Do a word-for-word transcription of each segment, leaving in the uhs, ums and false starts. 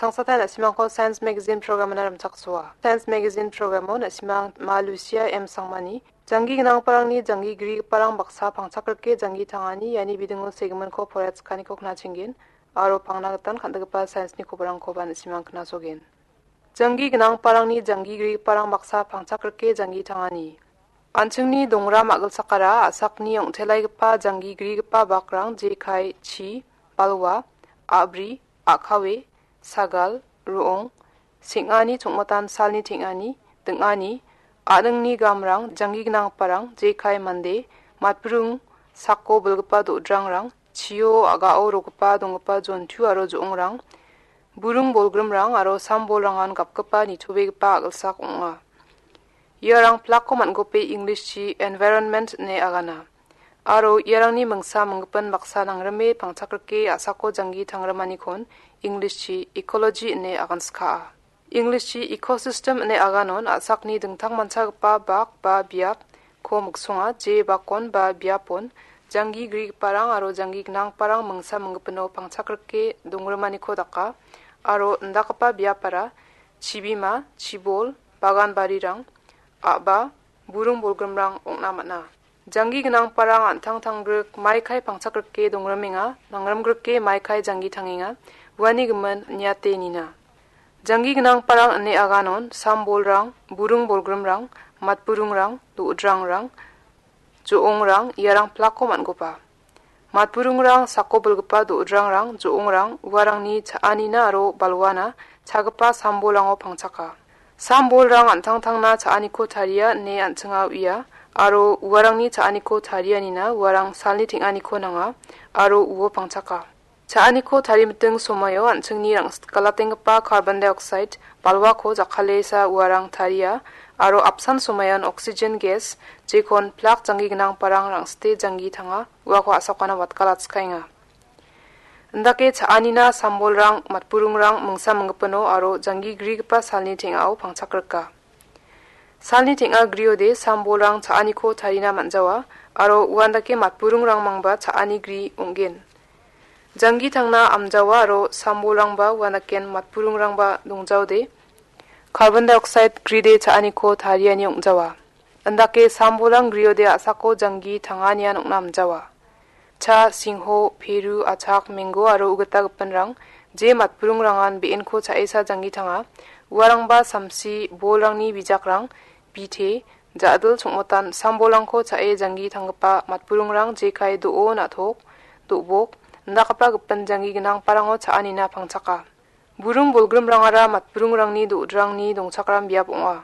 Sangsata na·simangko Science Magazine program-ona rimchaksoa. Science Magazine program-o na·simang Ma Lucia M Sangmani, janggi gnanggiparangni janggi grigiparang baksa pangchak rike janggi tangani iani bidingo segiminko poraiatskianiko knachenggen, aro pangna gitan kan·gipa science-ni kobarangkoba na·simang knasogen. Janggi gnanggiparangni janggi grigiparang baksa pangchak rike janggi tangani. An·chingni dongram a·gilsakara a·sakni ong·telaigipa janggi grigipa bakrang jekai, chi, balwa, a·bri, a·kawe, sagal, ro·ong, seng·ani chongmatan salni teng·ani, ding·ani, a·ningni gamrang, janggi gnanggiparang, jekai mande, matbrung, sako bilgipa do·drangrang, chio a·gao rogipa donggipa jontu aro jo·ongrang, burung bolgrimrang aro sam bolrangan gapgipa nitobegipa a·gilsak ong·a. Iarang plakko man·gope English-chi environment ine agana. Aro iarangni mingsa minggipin baksa nangrime pangchak rike a·sako janggi tangrimanikon English-chi ecology ine aganskaa. English-chi ecosystem ine aganon a·sakni dingtang manchagipa bak ba biapko miksonga, je bakon ba biapon janggi grigiparang aro janggi gnanggiparang mingsa minggipino pangchak rike dongrimaniko daka, aro indakgipa biapara chibima, chibol, bagan barirang, a·ba, burung bolgrimrang ong·na man·a. Janggi gnanggiparang an·tang tanggrik maikai pangchak rike dongrimenga, nangrimgrike maikai janggi tangenga, uani gimin niate nina. Janggi gnanggiparang ine aganon sam bolrang, burung bolgrimrang, matburungrang, do·drangrang, jo·ongrang, iarang plakko man·goba. Matburungrang, sako bilgipa do·drangrang, jo·ongrang, uarangni cha·anina aro balwana chagipa sam bolrango pangchaka. Sam bolrang an·tangtangna cha·aniko taria ine an·chinga uia, aro uarangni cha·aniko tarianina uarang salni teng·aniko nanga, aro uo pangchaka. Cha·aniko tarimiting somaio an·chingni rangsikgalatenggipa carbon dioxide balwako jakkalesa uarang taria, aro apsan somaion oxygen gas, jekon plak janggi gnanggiparang rangsite janggi tanga, uako a·sokana watgalatskaenga. Indake cha·anina sam bolrang, matburungrang mingsa minggipino aro janggi grigipa salni teng·ao pangchak rika. Salni teng·a griode sam bolrang cha·aniko tarina man·jawa, aro uandake matburungrangmangba cha·ani gri ong·gen. Janggi tangna amjawa aro sam bolrangba uandaken matburungrangba dongjaode, carbon dioxide gride cha·aniko tariani ong·jawa. Indake sam bolrang griode a·sako janggi tanganian ong·na amjawa. Cha, singho, peru, achak, mengo aro ugita gipinrang, je matburungrangan be·enko cha·esa janggi tanga. Uarangba samsi, bolrangni bijakrang, bite, ja·dil chongmotan, sam bolrangko cha·e janggi tanggipa matburungrang jekai do·o, na·tok, do·bok, indakgipa gipin janggi gnanggiparango cha·anina pangchaka. Burung bolgrimrangara matburungrangni do·drangni dongchakram biap ong·a.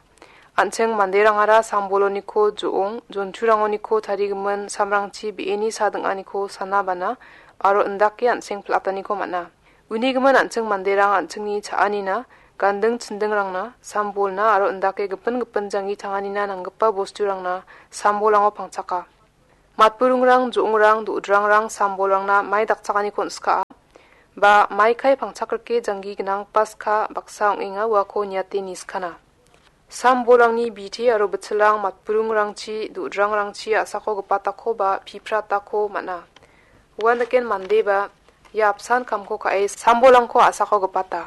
An·ching manderangara sam boloniko jo·ong, jonturangoniko tarigimin samrangchi be·eni sa ding·aniko sana bana aro indake an·seng pil·ataniko man·a. Uni gimin an·ching manderang an·chingni cha·anina, ganding chindingrangna, sam bolna aro indake gipin gipin janggi tanganina nanggipa bosturangna sam bolango pangchaka. Matburungrang, jo·ongrang, do·drangrang, sam bolrangna mai dakchakaniko on·skaa. Ba maikai pangchak rike janggi gnanggipa ska baksa ong·enga, uako niate niskana. Sam bolrangni bite aro bitchilrang matburungrangchi, do·drangrangchi a·sako gipatako ba pipratako man·a. Uandaken mandeba ia apsan kamko ka·e sam bolrangko a·sako gipata.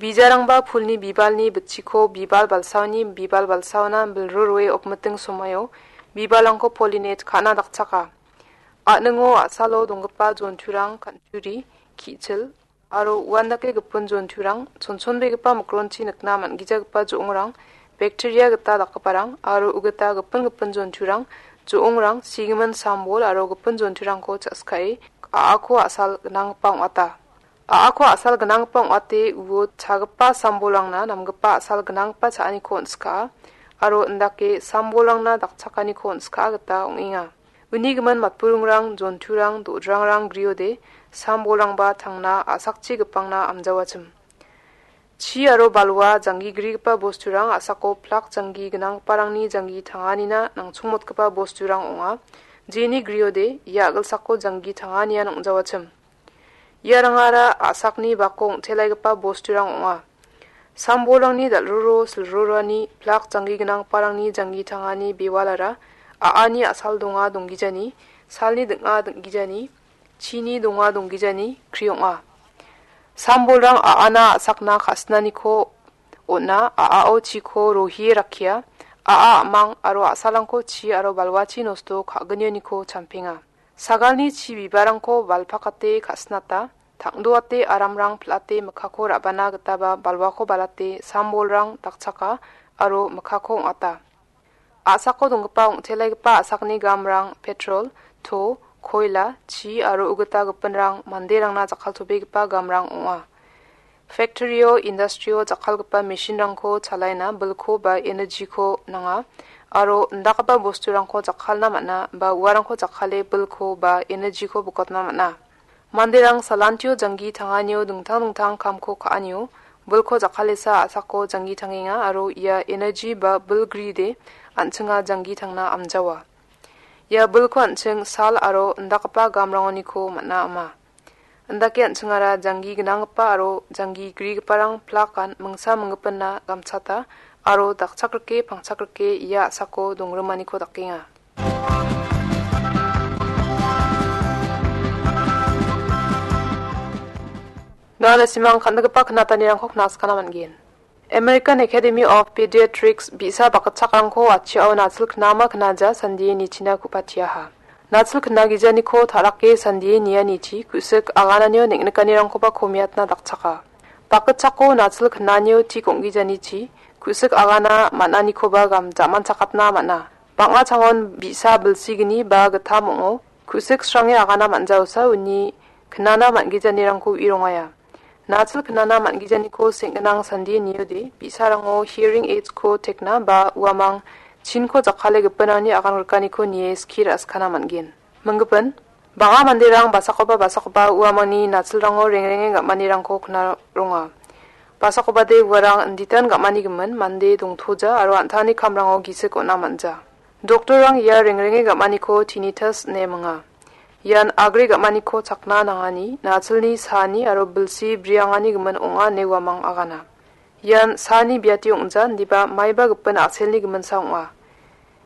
Bijarangba pulni bibalni bitchiko bibal balsaoni bibal balsaona bilro roe okmiting somaio bibalrangko pollinate ka·na dakchaka. A·ningo a·salo donggipa jonturang kan·turi, ki·chil, aro uandake gipin jonturang, chonchonbegipa mikronchi nikna man·gijagipa jo·ongrang, bakteria gita dakgiparang, aro ugita gipin gipin jonturang, jo·ongrang, sigimin sambol aro gipin jonturangko cha·sikae, a·ako a·sal gnanggipa ong·ata. A·ako a·sal gnanggipa ong·ate uo chagipa sambolrangna namgipa a·sal gnanggipa cha·aniko on·skaa, aro indake sambolrangna dakchakaniko on·skaa gita ong·enga. Uni gimin matburungrang, jonturang, do·drangrang griode, sambolrangba tangna a·sakchi gipangna amjawachim. Chi aro balwa janggi grigipa bosturang a·sako plak janggi gnanggiparangni janggi tanganina nangchongmotgipa bosturang ong·a. Jeni griode, ia a·gilsako janggi tanganian ong·jawachim. Iarangara a·sakni bako ong·telaigipa bosturang ong·a. Sambolrangni dal·roro silrorani plak janggi gnanggiparangni janggi tangani bewalara a·ani a·sal donga donggijani, salni ding·a ding·gijani, chini donga donggijani kri ong·a. Sambolrang a·ana a·sakna ka·sinaniko on·a, a·ao chiko rohie rakkia, a·a a·mang aro a·salrangko chi aro balwachi nosto ka·gnioniko champenga. Sagalni chi bibarangko balpakate ka·sinata, tangdoate aramrang pil·ate mikkako ra·bana gitaba balwako balate sambolrang dakchaka aro mikkako ong·ata. A·sako donggipa ong·telaigipa a·sakni gamrang petrol, to, koila, chi aro ugita gipinrang manderangna jakkaltobegipa gamrang ong·a. Factory-o, industry-o jakkalgipa machine-rangko chalaina bilko ba energy-ko nanga aro indakgipa bosturangko jakkalna man·a ba uarangko jakkale bilko ba energy-ko bokatna man·a. Manderang salantio janggi tanganio dingtang dingtang kamko ka·anio bilko jakkalesa a·sako janggi tangenga aro ia energy ba bil gride an·chinga janggi tangna amjawa. Ia bilko an·ching sal aro indakgipa gamrangoniko man·a ama. Indake an·chingara janggi gnanggipa aro janggi grigiparang plakan mingsa minggipinna gamchata aro dakchakrike pangchakrike ia a·sako dongrimaniko dakenga. Nana simang kan·gipa knatanirangko knaskana man·gen. American Academy of Pediatrics bi·sa bakgitchakrangko atchiao nachil knama knaja sandie nichina ku·patiaha. Nachil knagijaniko ta·rake sandie nianichi ku·sik agananio neng·nikanirangkoba komiatna dakchaka. Bakgitchako nachil knanio tik ong·gijanichi ku·sik agana man·anikoba gam-, jamanchakatna man·a. Bang·a changon bi·sa bilsigni ba gittam ong·o. Ku·sik srange agana man·jaosa uni knana man·gijanirangko u·irongaia. Nachil knana man·gijaniko seng·ginang sandie niode, bi·sarango hearing aids-ko tekna ba uamang chinko jakkale gipinrangni agan rikaniko nie skie ra·skana man·gen. Minggipin, bang·a manderang basakoba basakoba uamangni nachilrango rengrenge gam·anirangko knaronga. Basakobade uarang inditan gam·ani gimin mande dongtoja aro an·tangni kamrango gisik on·a man·ja. Doktorrang ia rengrenge gam·aniko tinnitus ine minga. Ian agre gam·aniko chakna nangani, nachilni saani aro bilsi briangani gimin ong·a ine uamang agana. Ian saani biatio ong·ja, indiba maiba gipin a·selni giminsa ong·a.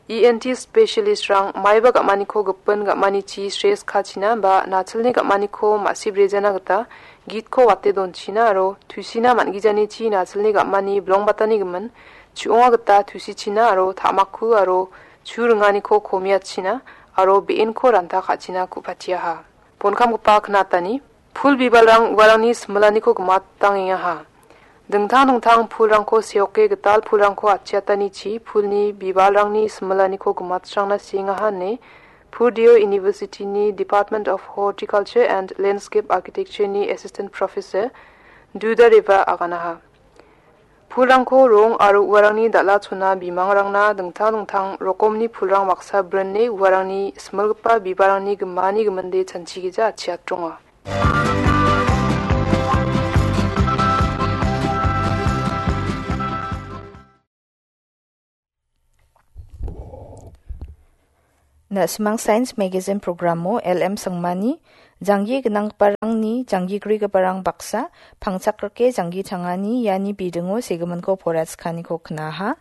E N T specialist-rang maiba gam·aniko gipin gam·anichi stres kachina ba nachilni gam·aniko ma·sibrejana gita gitko wate donchina aro tusina man·gijanichi nachilni gam·ani bilongbatani gimin chu·onga gita tusichina aro ta·makku aro chu ringaniko komiatchina aro be·enko ranta ka·china ku·patiaha. Bonkamgipa knatani, pul bibalrang uarangni similaniko gimatangengaha. Dingtang dingtang pulrangko seoke gital pulrangko atchiatanichi pulni bibalrangni similaniko gimatsrangna siengaha ine Purdue University-ni Department of Horticulture and Landscape Architecture-ni Assistant Professor Duda Reva aganaha. Pulrangko rong aro uarangni dal·a chona bimangrangna dingtang dingtang rokomni pulrang baksa brine uarangni similgipa bibalrangni gimani giminde chanchigija atchiatronga. Na·simang Science Magazine programo L M Sangmani, janggi gnanggiparangni janggigrigiparang baksa, pangchakrike janggi tangani iani bidingo segiminko poraiatskianiko knaha.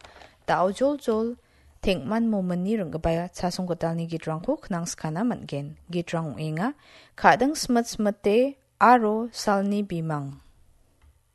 Da·o joljol, teng·man mominni ring·gipa chasong gitalni gitrangko knangskana man·gen. Gitrang ong·enga, Ka·ding Smit Smite aro Salni Bimang.